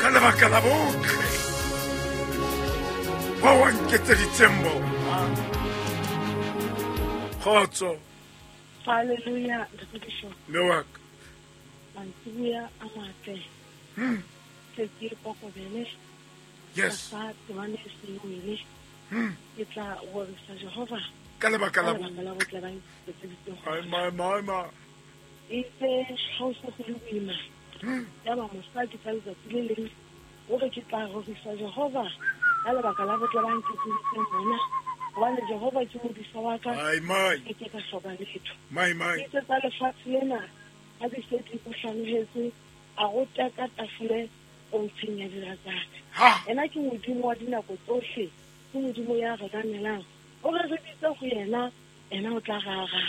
Ka lebaka la botle ba wa nketseditseng bona. Kgotso. Hallelujah, Ntate Bishop. Mme wa ka. Mantsiboya a matle. Ke ke kokobele. Yes. Ka temane e seng wele. Ke tla rorisa Jehova. Ka lebaka la botle ba nketseditseng. Ai my my my. Itse ha o se go le boima. Ya ba mosadi ka letsatsi le leng o re ke tla rorisa Jehova ka lebaka la botle ba nketseditseng bona. Hobane Jehova ke modisa wa ka. Ai my. Ke ke ka hloka letho. My my. Itse tsa lefatshe lena ha di se di mo hlanohetse, a go teka tafole pontsheng ya dira tsa ka. Ena ke Modimo wa dinako tsohle, ke Modimo ya re ramelang. O re re bitse go yena, ena o tla re araba.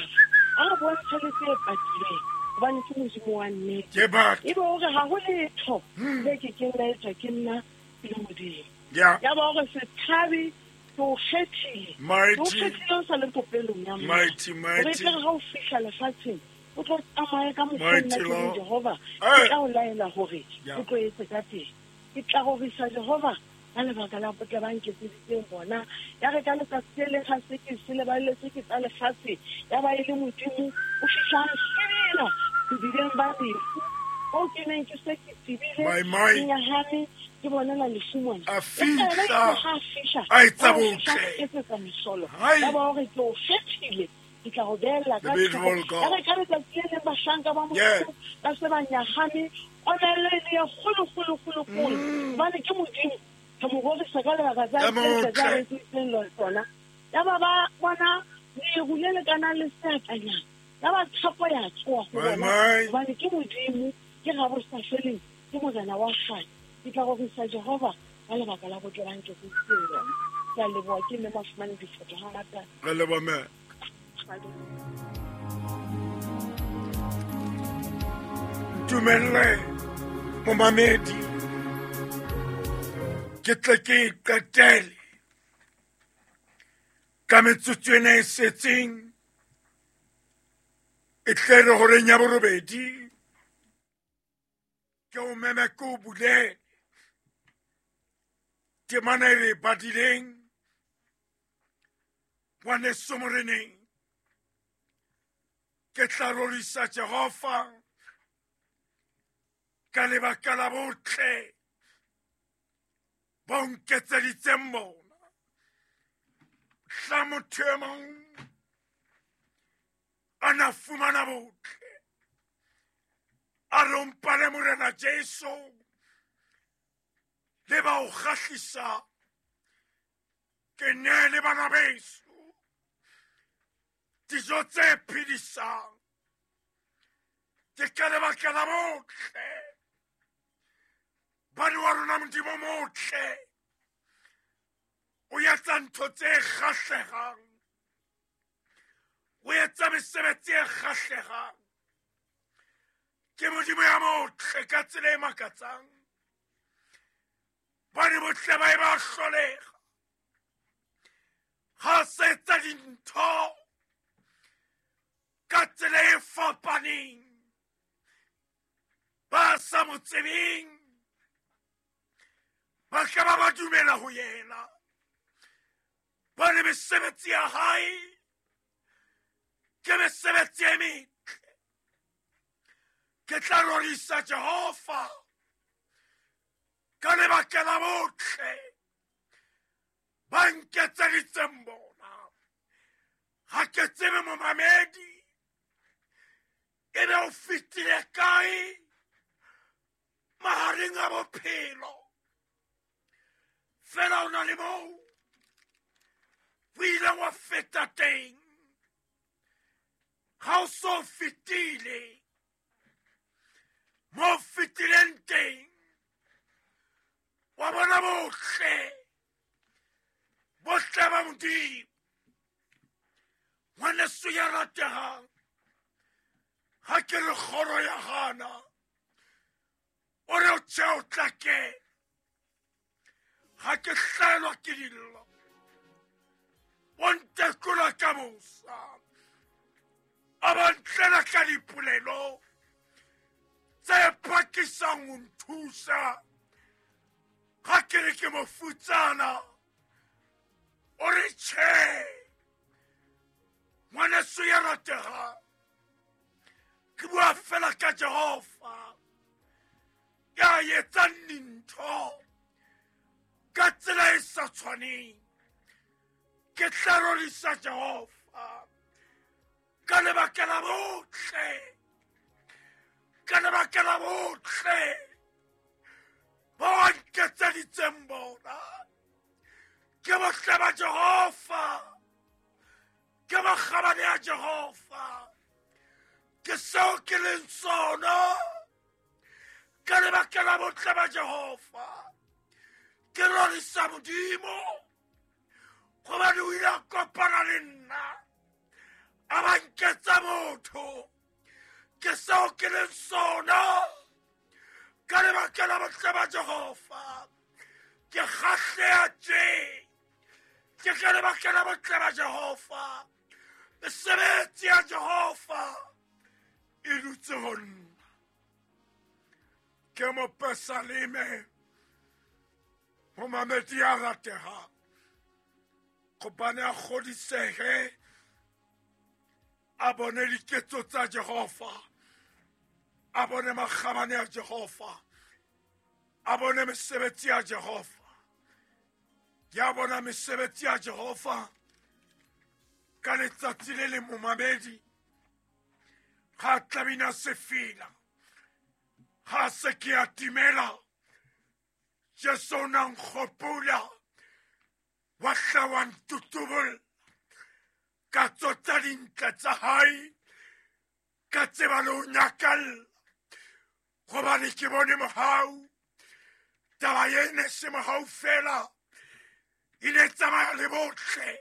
A re bontshe le tse patileng, hobane ke Modimo wa nnete. Ke batho. Ebe o re ha ho letho le ke keng la etswa ke nna ke le Modimo. Yeah. Ya ba o re se tshabe, ke o kgethile. Mighty. Ke o kgethile o sa le popelong ya mmao. Mighty, mighty. O re tle re ha o fihla lefatsheng, o tlo tsamaye ka mokgwa Mighty nna ke leng Lord. Jehova, Hey. ke tla o laela hore Yeah. o tlo etse ka teng. Ke tla rorisa Jehova ka lebaka la botle ba nketseditseng bona. Ya re ka letsatsi le leng ha se ke se leballetswe ke tsa lefatshe, ya ba e le Modimo o fihla a nhlebela bodibeng ba lefu. Moo ke neng ke se ke tsebile, My, my. ke nyahame, ke bonela lefu mona. A Empa yena fihla. itse ha a fihla, A etsa a fihla botle. a etsetsa mehlolo. Hai. Ya ba hore ke o kgethile, ke tla go beella ka The beautiful thoko. God. Ya re ka letsatsi le leng bahlanka ba Yeah. Modimo ba se ba nyahame, komello e le e kgolo, kgolo, kgolo, kgolo. Hobane ke Modimo, re mo rorisa ka lebaka tsa Ya tse tse tsa motle. re etseditseng tsona. Ya ba ba bona leru le lekanang le seatlanyana. Ya ba tshepo ya tsoha ho My, bona. my. Hobane ke Modimo, ke Rabosafeleng, ke Morena wa kgale. Ke tla rorisa Jehova ka lebaka la botle ba nketseditseng lona. Ke a leboha, ke mme Mafumane Diphoto ha ngata. Re leboha, mme. Ntumelle momamedi ke tle ke e qetele ka metsotso ena e setseng e tle re horeng ya borobedi ke o meme ke o bulele temana e re e badileng ngwaneso moreneng. Ke tla rorisa Jehova ka lebaka la botle bo nketseditseng bona. Hla motho e mong a na fumana botle, a re o mpale Morena Jesu le ba o kgahlisa, ke neele bana beso dijo tse phedisang. Ke ka lebaka la botle bane wa rona Modimo motle o etsa ntho tse kgahlegang, o etsa mesebetsi e kgahlegang. Ke Modimo ya motle ka tsela e makatsang. Bane botle ba e ba hlolega ha se etsa dintho ka tsela e fapaneng, ba sa mo tsebeng ba tla ba ba dumela ho yena. Ba le mesebetsi ya hae ke mesebetsi e metle. Ke tla rorisa Jehova ka lebaka la botle ba nketseditseng bona. Ha ke tsebe momamedi ebe o fetile kae mahareng a bophelo, fela o na le moo o ileng wa feta teng. Ha o so fetile mo fetileng teng, wa bona botle, botle ba Modimo. Ngwaneso ya ratehang, ha ke re kgoro ya hana, o re o tjhe o tla kena. Ha ke hlaelwa ke dillo, o ntekola ka mosa, a ba ntlela ka dipolelo tse phakisang ho nthusa. Ga ke re ke mofutsana, o re tjhe. Ngwaneso ya rategang, ke bua fela ka Jehova ya etsang dintho ka tsela e sa tshwaneng. Ke tla rorisa Jehova ka lebaka la botle, ka lebaka la botle bo a nketseditseng bona. Ke botle ba Jehova, ke makgabane a Jehova, ke seo ke leng sona ka lebaka la botle ba Jehova. Ke rorisa Modimo gobane o ile a kopana le nna, a ba nketsa motho. Ke seo ke leng sona ka lebaka la botle ba Jehova. Ke kgahleha tje ke ka lebaka la botle ba Jehova. Mesebetsi ya Jehova e dutse ho nna. Ke mopesaleme, momamedi ya rategang, gobane a kgodisehe a bone diketso tsa Jehova, a bone makgabane a Jehova, a bone mesebetsi ya Jehova. Ya bona mesebetsi ya Jehova ka letsatsi le le momamedi, ga tlabina sefela, ga se ke a timela. Jesu o na nkgopola, wa hla wa ntutubolla ka tsotsa dintle tsa hae, ka tseba le ho nyakalla, gobane ke bone mohau. Taba e ne se mohau fela, e ne tsamaya le botle,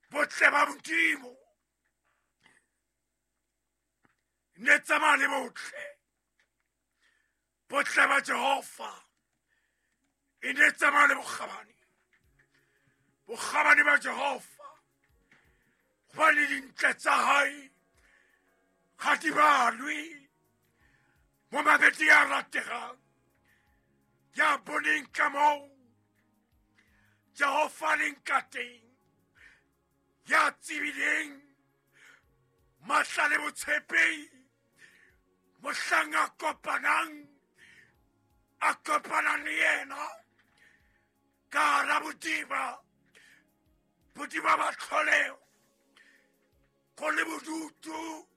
botle ba Modimo. Ne tsamaya le botle, botle ba Jehova. E ne tsamaya le bokgabane, bokgabane ba Jehova. Gobane dintle tsa hae ga di balwe. Momamedi ya rategang, ya boneng ka moo Jehova leng ka teng, ya tsebileng matla le botshepehi mohlang a kopanang, a kopanang le yena ka hara bodiba, bodiba ba tlholeho, go le bodutu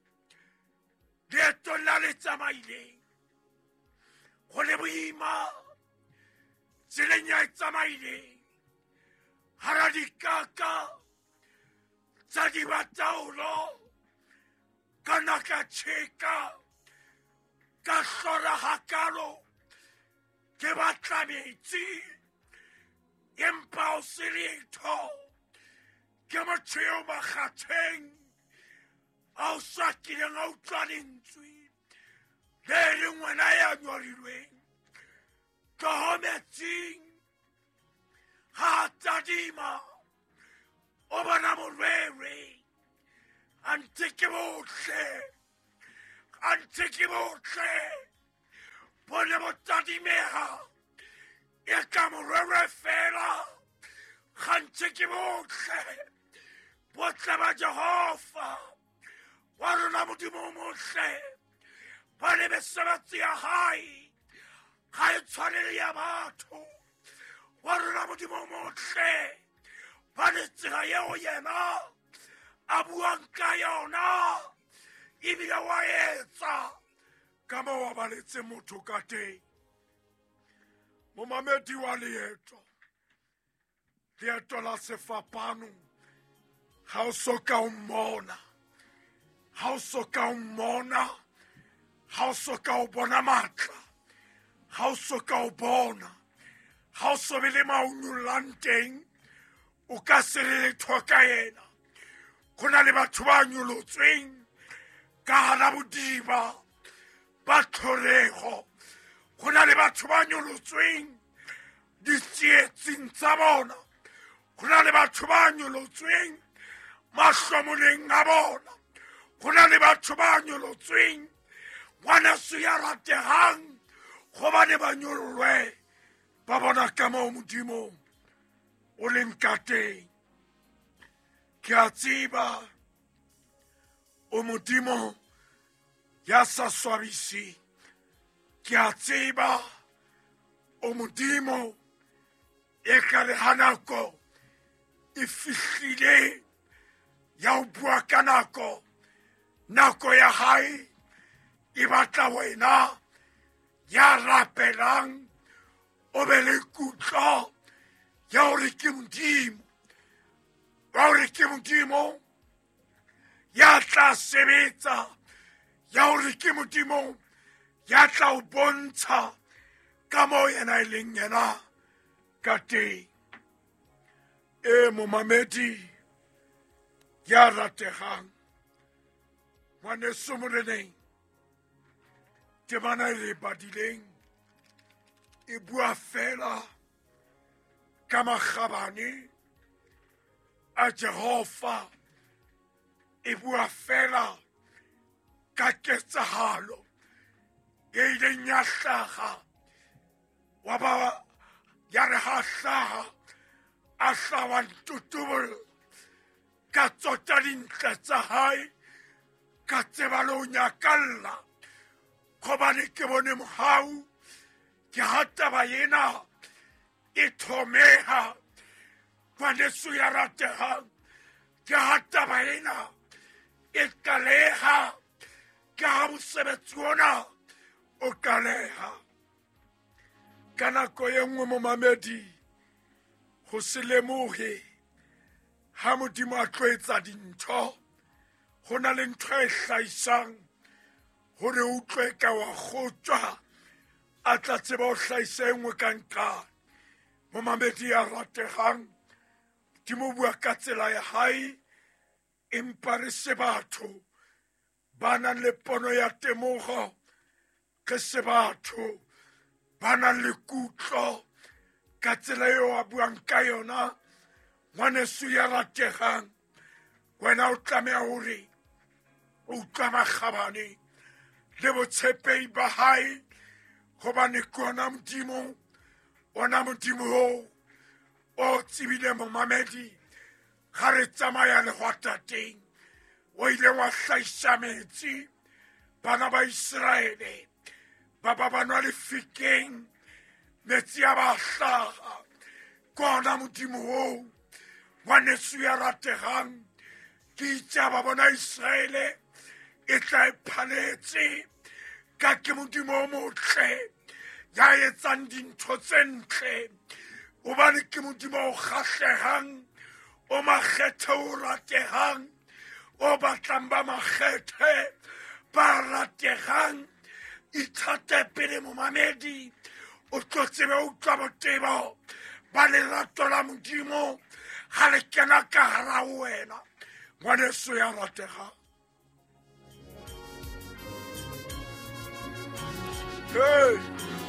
leetong la le tsamaileng, go le boima tseleng ya e tsamaileng, hara dikaka tsa dibataolo, ka na ka tjheka, ka hlora hakalo, ke batla metsi empa o se letho. Ke motho eo makgatheng a o sa kileng a utlwa lentswe le leng wena ya nyorilweng, tloho metsing. Ga a tadima o bona morwere, a ntse ke botle, a ntse ke botle, bo ne bo tadimega e ka morwere fela, ga ntse ke botle, botle ba Jehova wa rona Modimo o motle. Ba le mesebetsi ya hae ga e tshwane le ya batho. Wa rona Modimo o motle, ba le tsela eo yena a buang ka yona, ebile wa etsa ka moo a baletse motho ka teng. Momamedi wa leeto, leeto la sefapano, ga o so ka o mmona, ga o so ka o mmona, ga o so ka o bona matla, ga o so ka o bona, ga o so be le maonyollang teng, o ka se re letho ka yena. Go na le batho ba nyolotsweng ka hara bodiba ba tlholego, go na le batho ba nyolotsweng ditsietsing tsa bona, go na le batho ba nyolotsweng mahlomoleng a bona, go na le batho ba nyolotsweng ngwaneso ya rategang, gobane ba nyollwe. Ba bona ka moo Modimo o leng ka teng. Ke a tseba o Modimo ya sa swabiseng. Ke a tseba o Modimo e ka re ha nako e fihlile ya ho bua ka nako, nako ya hae e batla wena ya rapelang o be le kutlo ya hore ke Modimo, wa hore ke Modimo ya tla sebetsa, ya hore ke Modimo ya tla o bontsha ka moo yena e leng yena ka teng. E momamedi ya rategang, ngwaneso moreneng, temana e re badileng e bua fela ka makgabane a Jehova, e bua fela ka ketsahalo e ileng ya hlaha, wa ba ya re ha hlaha a hlawa ntutubolla ka tsota dintle tsa hae, ka tseba le ho nyakalla, gobane ke bone mohau. Ke ha taba ena e thomeha, ngwaneso ya ratehang, ke ha taba ena e qaleha, ke ha mosebetsi ona o qaleha. Ka nako e nngwe momamedi, ho se lemohe ha Modimo a tlo etsa dintho, ho na le ntho e hlahisang hore o utlwe ka wa kgotjwa, a tla tseba ho hlahisa e nngwe ka nqane. Momamedi ya rategang, Modimo o bua ka tsela ya hae, empa re se batho ba nang le pono ya temogo, re se batho ba nang le kutlo ka tsela eo a buang ka yona. Ngwaneso ya rategang, wena o tlameha hore o utlwa makgabane le botshepehi ba hae, gobane ke ona Modimo, ona Modimo oo o tsebile momamedi ga re tsamaya lehwatateng, o ile wa hlahisa metsi bana ba Iseraele ba ba ba nwa lefikeng, metsi a ba hlaha. Ke ona Modimo oo, ngwaneso ya rategang. Ke itse ba bona Iseraele e tla e phaletse, ka ke Modimo o motle ya etsang dintho tse ntle, hobane ke Modimo o kgahlehang, o makgethe o ratehang, o batlang ba makgethe ba rategang. Ithate pele momamedi, o tlo tsebe o utlwa botebo ba lerato la Modimo ha le kena ka hara wena, ngwaneso ya rategang. Hey!